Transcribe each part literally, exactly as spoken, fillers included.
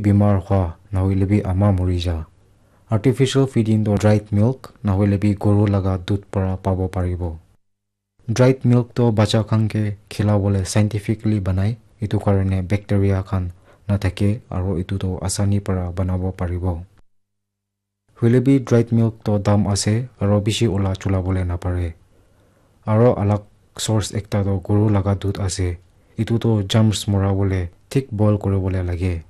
bimar hwa, nahoile bi ama mori ja. Artificial feeding toh dried milk, nahoile bi goru laga dudh para pabo paribo. Dried milk toh bacha khan ke khilabole scientifically banai, etu karone bacteria khan nathake aro etu toh asani para banabo paribo. Hoile bi dried milk toh dam ase aro bishi ola chulabole napare. Aro alag source ekta toh goru laga dudh ase. Etu toh germs morabole thik boil kuribole lage.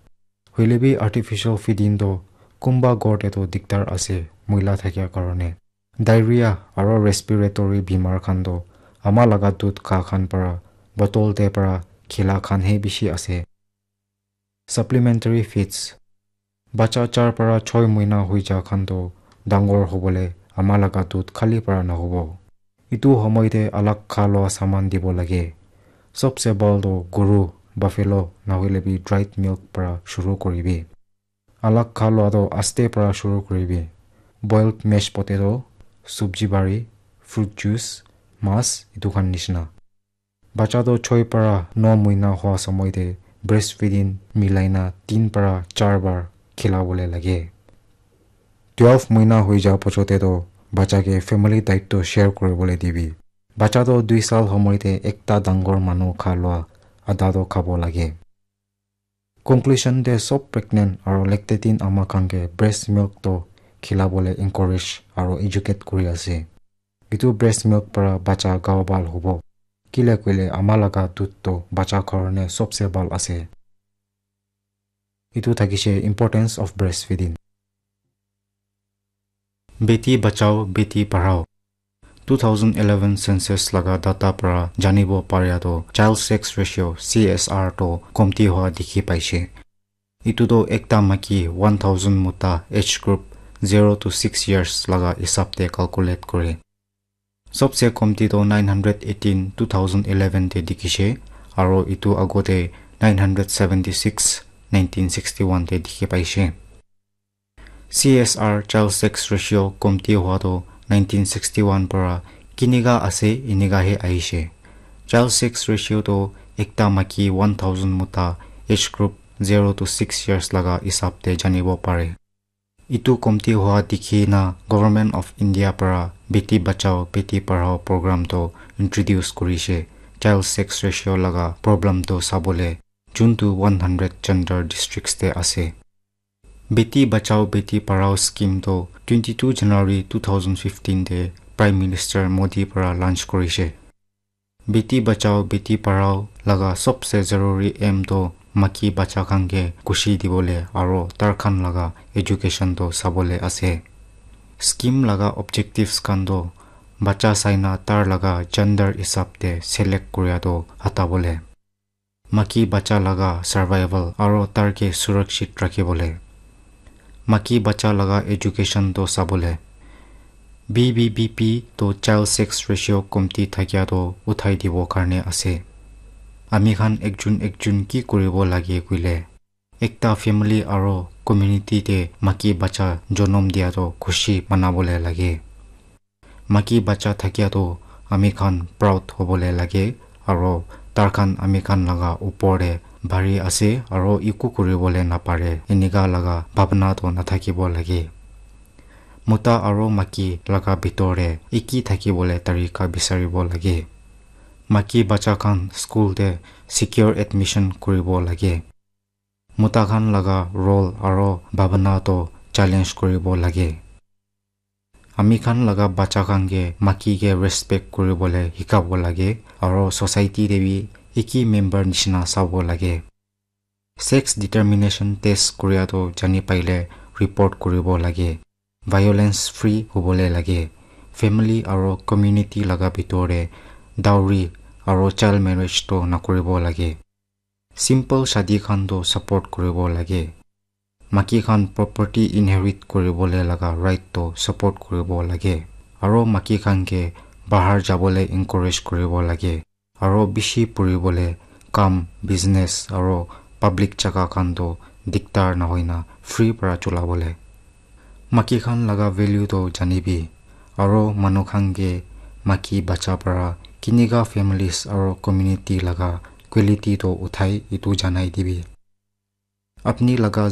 Hoile bi artificial feeding toh kunba ghor te toh dikdar ase, moila thakia karone. Diarrhea aro respiratory bimar khan toh ama laga dudh kha khan para, bottle te para khila khan he bishi ase. Supplementary feeds. Bacha char para choi moina hoi ja khan toh dangor hobole ama laga dudh khali para nahobo. Etu homoi te alag kha lua saman dibo lage. Sobse bhal toh goru, buffalo, nahoile bi dried milk para shuru kuribi. Alag kha lua toh aste para shuru kuribi. Boiled mashed potato, subji bari, fruit juice, mas, etu khan nishina. Bacha toh choi para no moina hua samoi te breastfeeding milai na tin para char bar khilabole lage. Twelve moina hoi ja pochote toh bacha ke family diet toh share kuribole dibi. Bacha toh dui sal homoi te ekta dangor manu kha lua ada toh khabo lage. Conclusion te sob pregnant aro lactating ama khan ke breast milk toh khilabole encourage aro educate kuri ase. Etu breast milk para bacha gao bhal hobo. Kile koile ama laga dudh toh bacha karone sobse bhal ase. Etu thakishe importance of breastfeeding. Beti Bachao, Beti Padhao. Two thousand eleven census laga data para janibo paria toh child sex ratio, C S R, toh komti hua dikhi paishe. Etu toh ekta maki one thousand mota age group zero to six years laga hisab te calculate kore. Sobse komti toh nine hundred eighteen two thousand eleven te dikhishe, aro etu agote nine hundred seventy six nineteen sixty one te dikhi paishe. C S R, child sex ratio, komti hua toh nineteen sixty one para kinika ase, enika he ahishe. Child sex ratio toh ekta maki one thousand mota age group zero to six years laga hisab te janibo pare. Etu komti hua dikhi na Government of India para Beti Bachao, Beti Padhao program toh introduce kurishe, child sex ratio laga problem toh sabole, juntu one hundred gender districts te ase. Beti Bachao, Beti Padhao scheme toh twenty two January two thousand fifteen te Prime Minister Modi para launch kurishe. Beti Bachao, Beti Padhao laga sobse zaruri aim toh maki bacha khan ke khushi dibole aro tar khan laga education toh sabole ase. Scheme laga objectives khan toh bacha saina tar laga gender hisab te select kuria toh hatabole. Maki bacha laga survival aro tar ke surakshit rakhibole. Maki bacha laga education toh sabole. B B B P toh child sex ratio komti thakia toh uthai dibo karne ase. Ami khan ekjun ekjun ki kuribo lage koile, ekta family aro community te maki bacha jonom dia toh khushi manabole lage. Maki bacha thakia toh ami khan proud hobole lage, aro tar khan ami khan laga upor te bhari ase aro eku kuribole napare, enika laga bhabna toh nathakibo lage. Mota aro maki laga bitor te eki thakibole tarika bisaribo lage. Maki bacha khan school te secure admission kuribo lage. Mota khan laga role aro bhabna toh challenge kuribo lage. Ami khan laga bacha khan ke maki ke respect kuribole hikabo lage aro society te bi eki member nishina sabo lage. Sex determination test kuria toh jani paile report kuribo lage. Violence free hobole lage. Family aro community laga bitor te dowry aro child marriage toh nakuribo lage. Simple shadi khan toh support kuribo lage. Maki khan property inherit kuribole laga right toh support kuribo lage. Aro maki khan ke bahar jabole encourage kuribo lage. Aro bishi puribole, kam, business aro public jaga khan toh diktar nahoina free para chulabole. Maki khan laga value toh janibi. Aro manu khan ke maki bacha para kinika families aro community laga quality toh uthai etu janai dibi. Apni laga